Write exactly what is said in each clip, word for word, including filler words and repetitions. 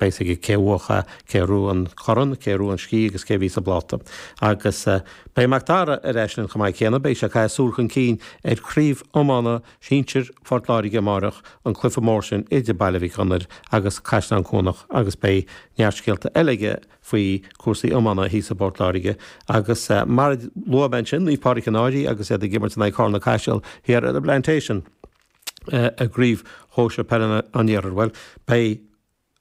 beidh a fhios aige cé bhuaigh, cé a ghnóthaigh an corn, cé a ghnóthaigh an sciath agus cé a bhí sa bpláta. Agus beidh Mac Dara ar ais linn chomh maith céanna, beidh sé ag caitheamh súil chun cinn ar chraobh iomána sinsir Phort Láirge amáireach, an cluiche mór sin idir Baile Mhic Gonair agus Caisleán Cuanach agus beidh neart scéalta eile aige faoi cúrsaí iomána thíos i bPort Láirge. Agus mar a luaigh mé ansin, Naomh Pádraig an Fhairche agus iad ag imirt in aghaidh Carna Caiseal thiar ar an bPlantation i gCraobh Shóisir Peile an Iarthair. Bhuel, beidh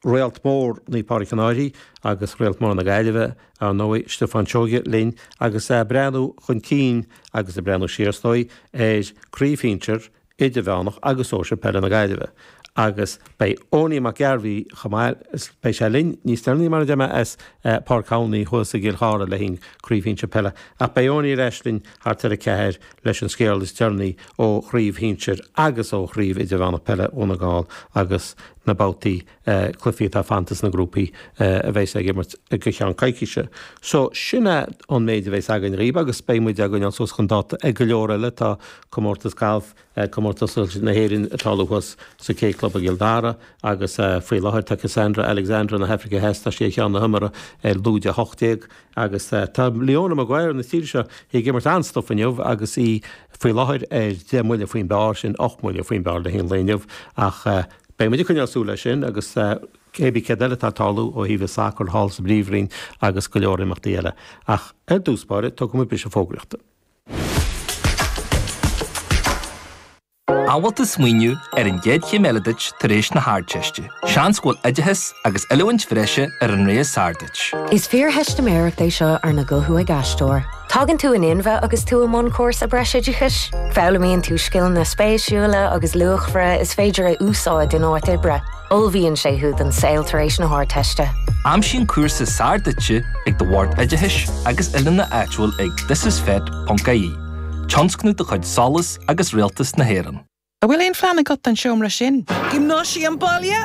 réalt mór Naomh Pádraig an Fhairche agus réalt mór na Gaillimhe, ar ndóigh, Stiofán Seoige linn agus é ag breathnú chun cinn agus ag breathnú siar, is dóigh, ar Chraobh Shinsir, Idirmheánach agus Sóisir Peile na Gaillimhe. Agus beidh Owenie Mac Gairbhí chomh maith, beidh sé linn níos deireanaí mar a deir mé as Páirc Thomhney thuas i gCill Chartha le haghaidh Craobh Shinsir Peile. Ach beidh Owenie ar ais linn thart ar a ceathair leis an scéal is deireanaí ó Chraobh Shinsir agus ó Chraobh Idirmheánach Peile Dhún na nGall agus na babhtaí cluichí atá fanta sna grúpaí a bheas ag imirt go ceann coicíse. So sin é an méid a bheas againn dhaoibh agus beidh muid á gcoinneáil suas chun dáta ag go leor eile. Tá comórtas gailf, Comórtas na hÉireann ag tarlú thuas sa K Club i gCill Dara agus faoi láthair tá Cassandra Alexander na hAfraice Theas, tá sí ar cheann na hiomaire ar lúide a hocht déag agus tá Leona Maguire na tíre seo ag imirt an-stuif inniu agus í faoi láthair ar deich mbuille faoin bpar, sin ocht mbuille faoin bpar le haghaidh an lae inniu ach beidh muid ag coinneáil súil air sin agus cé bith céard eile atá ag tarlú ó thaobh an sacair thall sa bPríomhroinn agus go leor imeachtaí eile. Ach ar dtús báire, tógfaidh muid briseadh fógraíochta. An bhfuil tú ag smaoineamh ar an gcéad chéim eile duit tar éis na hArdteiste? Seans go bhfuil oideachas agus oiliúint bhreise ar an rogha is fearr duit. Is fíortheistiméireacht é seo arna guthú ag aisteoir. Tagann tú in inmhe agus tú i mbun cúrsa breisoideachais. Foghlaimíonn tú scileanna spéisiúla agus luachmhara is féidir a úsáid in áit oibre. Ullmhaíonn sé thú don saol tar éis na hArdteiste. Aimsigh an cúrsa is fearr duitse ag do bhord oideachais agus oiliúna áitiúil ag thisisfet ponc ie. Tionscnamh de chuid SOLAS agus Rialtas na hÉireann. An bhfuil aon phlean agat don seomra sin? Giomnáisiam baile?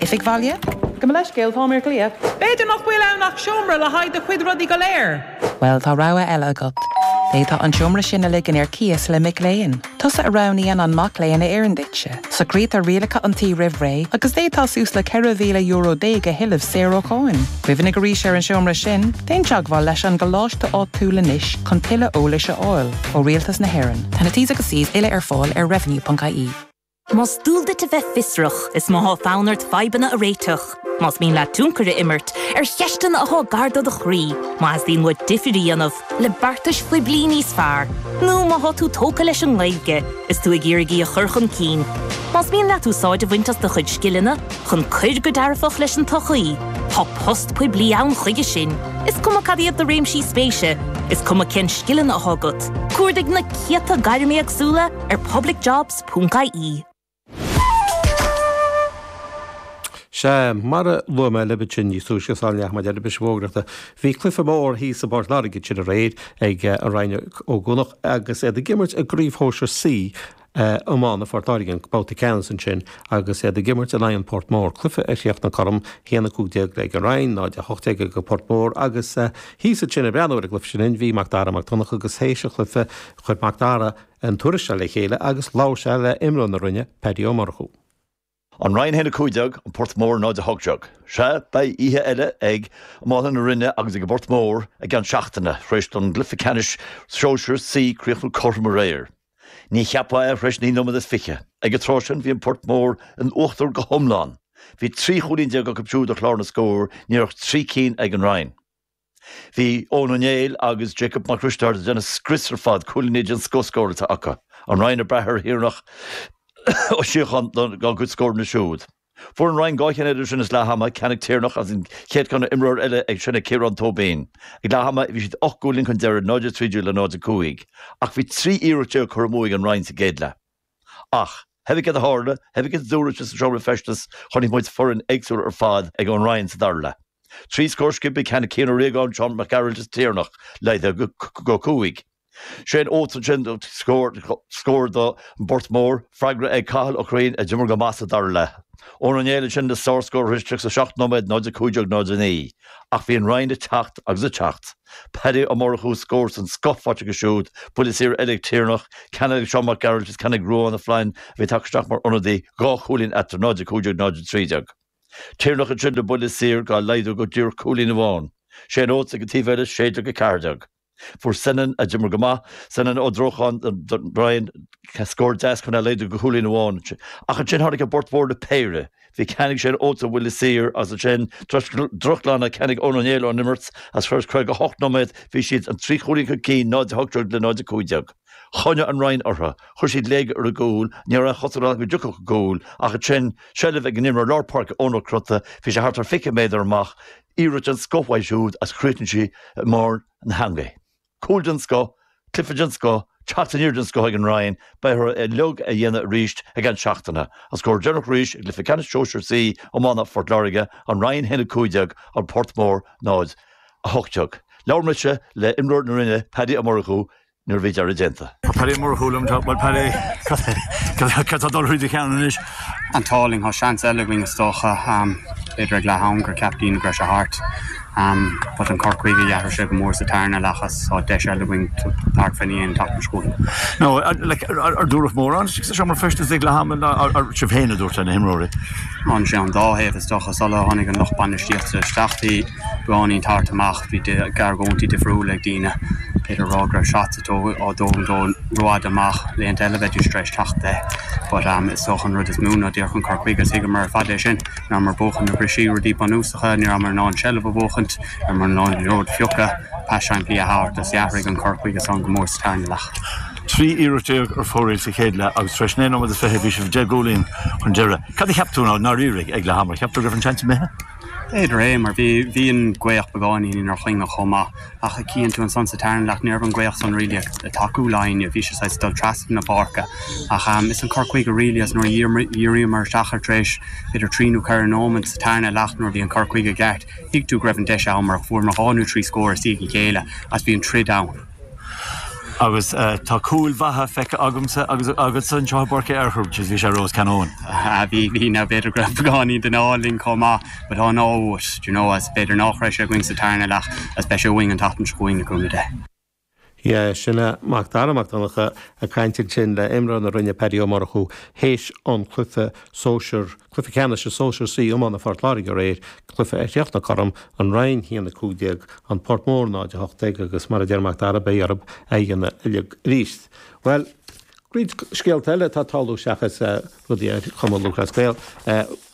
Oifig bhaile? Gabh mo leithscéal, táim ar glaoch. B'fhéidir nach bhfuil ann ach seomra le haghaidh do chuid rudaí go léir. Bhuel, tá rogha eile agat. D'fhéadfá an seomra sin a ligean ar cíos le mic léinn. Tusa a roghnaíonn an mac léinn a oireann duitse. Socraítear rialacha an tí roimh ré agus d'fhéadfá suas le ceithre mhíle euro déag a thuilleamh saor ó cháin. Cuimhnigh arís ar an seomra sin, déan teagmháil leis an gcoláiste áitiúil anois chun tuilleadh eolais a fháil ó Rialtas na hÉireann. Tá na T's agus C's uile ar fáil ar revenue.ie. Más dual duit a bheith fiosrach, is má tá fonn ort fadhbanna a réiteach, más mian leat tionchar a imirt ar cheisteanna atá gar do do chroí, má theastaíonn uait difear a dhéanamh le beartais phoiblí níos fearr, nó má tá tú tógtha leis an nGaeilge is tú ag iarraidh í a chur chun cinn, más mian leat úsáid a bhaint as do chuid scileanna chun cur go dearfach leis an tsochaí, tá post poiblí ann chuige sin. Is cuma cad iad do réimsí spéise, is cuma cén scileanna atá agat, cuardaigh na céadta gairm éagsúla ar publicjobs ponc ie. Sea, mar a luaigh mé libh ansin níos túisce sula ndeachaigh muid ar an bhriseadh fógraíochta, bhí cluiche mór thíos i bPort Láirge ansin aréir ag an Rinn Ó gCuanach agus iad ag imirt i gCraobh Shóisir C iomána Phort Láirge, an babhta ceannais ansin agus iad ag imirt in aghaidh an Port Mór. Cluiche a chríochnaigh cothrom, a haon a cúig déag ag an Rinn, náid a hocht déag ag an Port Mór agus thíos ansin ag breathnú ar an gcluiche sin bhí Mac Dara Mac Donncha agus théis an chluiche chuir Mac Dara an tuairisc seo le chéile agus labhair sé le imreoir na Rinne, Paddy Ó Murchú. An Rinn a haon a cúig déag, An Port Mór náid a hocht déag. Sea, beidh oíche eile ag iománaithe na Rinne agus ag an bPort Mór i gceann seachtaine, tar éis don gcluiche ceannais sóisir C críochnú cothrom aréir. Ní cheapfá é tar éis naoi nóiméad is fiche. Ag an tráth sin bhí an Port Mór in uachtar go hiomlán. Bhí trí chúilín déag acu siúd ar chlár na scór, ní raibh ach trí cinn ag an Rinn. Bhí Eoin Ó Néill agus Jacob Mac Risteaird ag déanamh scrios ar fad, cúilíní den scoth scóráilte acu. An Rinn ag brath ar Thiarnach Ó Síocháin dá gcuid scóranna siúd. Fuair an Rinn dhá cheann eile sin is leath ama, ceann ag Tiarnach agus an chéad cheann ó imreoir eile ag sin ag Ciarán Tóibín. Ag leath ama bhí siad ocht gcúilín chun deiridh, náid a trí déag le náid a cúig. Ach bhí trí iarracht déag curtha amú ag an Rinn sa gcéad leath. Ach, thébí céard a tharla, thébí céard a dúradh sa seomra feistis, chonaic muid foireann éagsúil ar fad ag an Rinn sa dara leath. Trí scór sciobtha, ceann ag Cian Ó Riagáin, Seán Mac Gearailt is Tiarnach, laghdaithe go cúig. Shane Oates ansin scór, scór don bPort Mór, freagra ag Cathal Ó Curraoin a d'imir go maith sa dara leath. Eoin Ó Néill ansin le sárscór tar éis tríocha seacht nóiméad, náid a cúig déag, náid a naoi. Ach bhí an Rinn ag teacht agus ag teacht. Paddy Ó Murchú scór den scoth faighte aige siúd, buille saor eile ag Tiarnach, ceann eile ag Seán Mac Gearailt is ceann ag Ruán Ó Floinn a bhí tagtha isteach mar ionadaí, dhá chúilín eatarthu, náid a cúig déag, náid a trí déag. Tiarnach ansin le buille saor dhá laghdú go díreach cúilín amháin. Shane Oates ag an taobh eile sé déag a ceathair déag. Fuair Senan, a d'imir go maith, Senan Ó Drócháin don Rinn, scór deas chun é a laghdú go cúilín amháin. Ach ansin tháinig an Port Mór le péire. Bhí ceann ag Shane Oates ó bhuille saor agus ansin drochghlanadh ceann ag Eoin Ó Néill ón imirt agus tar éis caoga hocht nóiméad bhí siad an trí chúilín chun cinn, náid a hocht déag le náid a cúig déag. Choinnigh an Rinn orthu. Chuir siad léig ar a gcúl. Ní raibh aon chosúlacht ann go dtiocfadh an cúl ach ansin seilbh ag an imreoir lár páirce Eoin Ó Crotta, bhí sé thart ar fiche méadar amach, iarracht den scoth uaidh siúd agus chríochnaigh sí i mbarr na heangaí. Cúl den scoth, cluiche den scoth, teacht aniar den scoth ag an Rinn, beidh orthu é uilig a dhéanamh arís i gceann seachtaine. An scór deireanach arís i gcluiche ceannais Sóisir C iomána Phort Láirge, An Rinn a haon a cúig déag, An Port Mór náid a hocht déag. Labhair mise le imreoir na Rinne, Paddy Ó Murchú, nuair a bhí deireadh déanta. Tá Paddy Ó Murchú liom, tá, bhuel Paddy, cad tá ag dul thríd do cheann anois? An t-ádh linn, tá seans eile againn is dócha, b'fhéidir ag leath am gur cheap daoine go raibh sé thart. But an cur chuige d'athraigh sé go mór sa tarna leath agus tá deis eile againn thart fá choinne an tseachtain seo chugainn. No, like, ar dúradh mórán sa seomra feistis ag leath ama, ar sibh féin a dúirt le na himreoirí? An sé an dá thaobh is dócha, sula tháinig an lucht bainistíochta isteach bhí beagáinín tart amach, bhí argóintí difriúla ag daoine. B'fhéidir a rá go raibh shots á dtógaint ó rófhada amach, laethanta eile bheidís tar éis teacht de. But um, is dócha an rud is mó ná díreach an cur chuige is thuigeamar ar fad é sin. Ní rabhamar ag buachan na briseadh rudaí bunúsacha, ní rabhamar in ann seilbh a bhuachaint, ní rabhamar in ann an liathróid a phiocadh, pas simplí a thabhairt is d'athraigh an cur chuige san go mór sa tarna leath. Trí iarracht déag ar fóraoil sa chéad leath agus tar éis naoi nóiméad is fiche bhí sibh deich gcúilín chun deiridh. Cad a cheap tú i ndáiríre ag leath ama? Cheap tú go raibh an seans imithe? B'fhéidir é, mar bhí bhí an ghaoth beagáinín inár choinne chomh maith, ach chíonn tú ansan sa tarna leath ní raibh an ghaoth san really ag tacú linn, bhí sé saghas ag dul trasna na páirce. Ach um, is an cur chuige really is nuair a dhíríomar isteach ar tar éis b'fhéidir trí nó ceithre nóiméad sa tarna leath nuair a bhí an cur chuige ceart, thuig tú go raibh an deis ann mar fuaireamar dhá nó trí scór i ndiaidh a chéile agus bhí an troid ann. Agus tá cúil mhaithe feicthe agamsa agus agatsa anseo i bPáirc Uí Fhearchair, bhí sé Ros Canóin. Bhí bhí now b'fhéidir go raibh beagáinín den ádh linn chomh maith, but tá an ádh uait, do you know, as b'fhéidir nach raibh sé againn sa tarna leath as beidh sé uainn an tseachtain seo chugainn le cúnamh Dé. Yeah, sin é Mac Dara Mac Donncha ag caint ansin le imreoir na Rinne Paddy Ó Murchú théis an cluiche sóisir, cluiche ceannais sóisir C iomána Phort Láirge aréir, cluiche a chríochnaigh cothrom, an Rinn a haon a cúig déag, an Port Mór náid a hocht déag agus mar a deir Mac Dara beidh orthu é a dhéanamh uilig arís. Bhuel, roinnt scéalta eile atá ag tarlú seachas rudaí ar Chumann Lúthchleas Gael.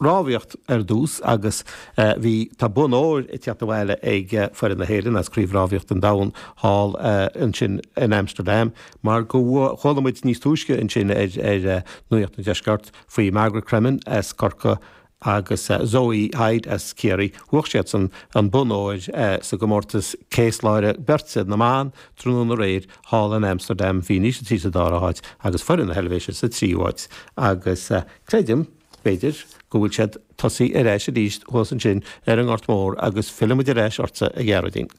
Rámhaíocht ar dtús agus bhí, tá bonn óir ag teacht abhaile ag foireann na hÉireann as Craobh Rámhaíocht an Domhain thall ansin in Amsterdam mar go chuala muid níos túisce ansin ar ar Nuacht an Deiscirt faoi Margaret Cremen as Corcaigh agus Zoe Hyde as Ciarraí. Bhuaigh siadsan an bonn óir sa gcomórtas céasláire beirte na mban tráthnóna aréir thall in Amsterdam. Bhí an Ísiltír sa dara háit agus foireann na hEilvéise sa tríú háit. Agus creidim, b'fhéidir, go bhfuil siad tosaithe ar ais arís thuas ansin ar an nGort Mór agus fillfidh muid ar ais ortsa, a Ghearóidín.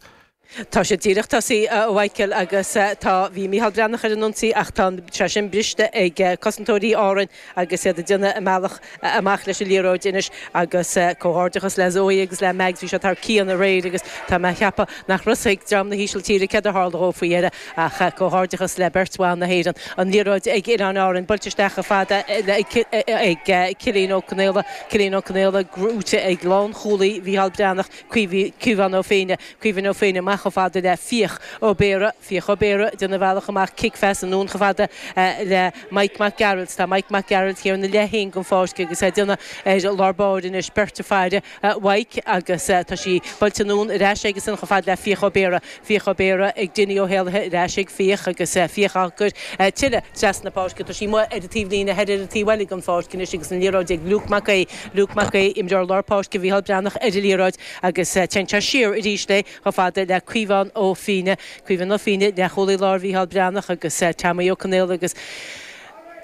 Tá sé díreach tosaithe, a Mhichael, agus tá, bhí Mícheál Breathnach ar an ionsaí ach tá sé sin briste ag cosantóirí Árainn agus iad ag déanamh a mbealach amach leis an liathróid anois agus comhghairdeachas le Zoe agus le Mags, bhí siad thar cionn aréir agus tá mé a cheapadh nach raibh fhios ag dream na hÍsiltíre céard a tharla dhóibh faoi dheireadh ach comhghairdeachas le beirt bhan na hÉireann. An liathróid ag Oileáin Árann buailte isteach chomh fada ag Cillian Ó Conaola, Cillian Ó Conaola gnóite ag lánchúlaí Mhícheál Breathnach, Caomhán Ó Féinne, Caomhán Ó Féinne amach chomh fada le Fiach Ó Béarra, Fiach Ó Béarra ag déanamh a bhealach amach, cic phas anonn chomh fada le Mike Mac Gearailt. Tá Mike Mac Gearailt thiar ina leith féin den pháirc agus é ag déanamh ar lár báire anois, beirt ag faire Mhaidhc agus tá sí buailte anonn ar ais aigesan chomh fada le Fiach Ó Béarra. Fiach Ó Béarra ag Dinny Ó hÉallaithe ar ais ag Fiach agus Fiach á cur tuilleadh trasna na páirce. Tá sí amuigh ar an taobhlíne thoir ar an taobh eile den pháirc anois agus an liathróid ag Luke Mac Aodha. Luke Mac Aodha, imreoir lár páirce Mhícheál Breathnach ar an liathróid agus téann sé siar arís léi chomh fada le Caomhán Ó Fíne. Caomhán Ó Fíne, leathchúlaí láir Mhícheál Breathnach agus Tommy Ó Conaola agus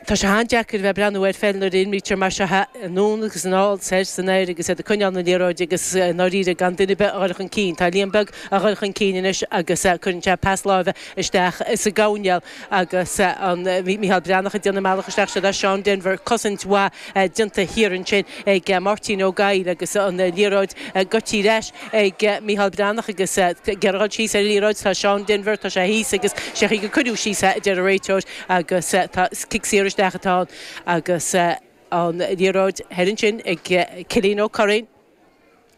tá sé an-deacair a bheith ag breathnú ar pheil nuair a imrítear mar seo anonn agus anall, soir is anoir agus iad ag coinneáil na liathróide agus i ndáiríre gan duine ar bith a dhul chun cinn. Tá Liam Beag a dhul chun cinn anois agus cuireann sé pas láimhe isteach sa gcoirnéal agus an Mícheál Breathnach ag déanamh a mbealach isteach siod é Seán Denvir. Cosaint mhaith déanta thiar ansin ag Máirtín Ó Gabhla agus an liathróid goidte ar ais ag Mícheál Breathnach agus ag iarraidh dhul síos ar an liathróid tá Seán Denvir, tá sé thíos agus sé an chaoi gur cuireadh síos é, a deir an réiteoir agus tá cic saor isteach atá ann agus An liathróid thoir ansin ag Cillian Ó Curraoin.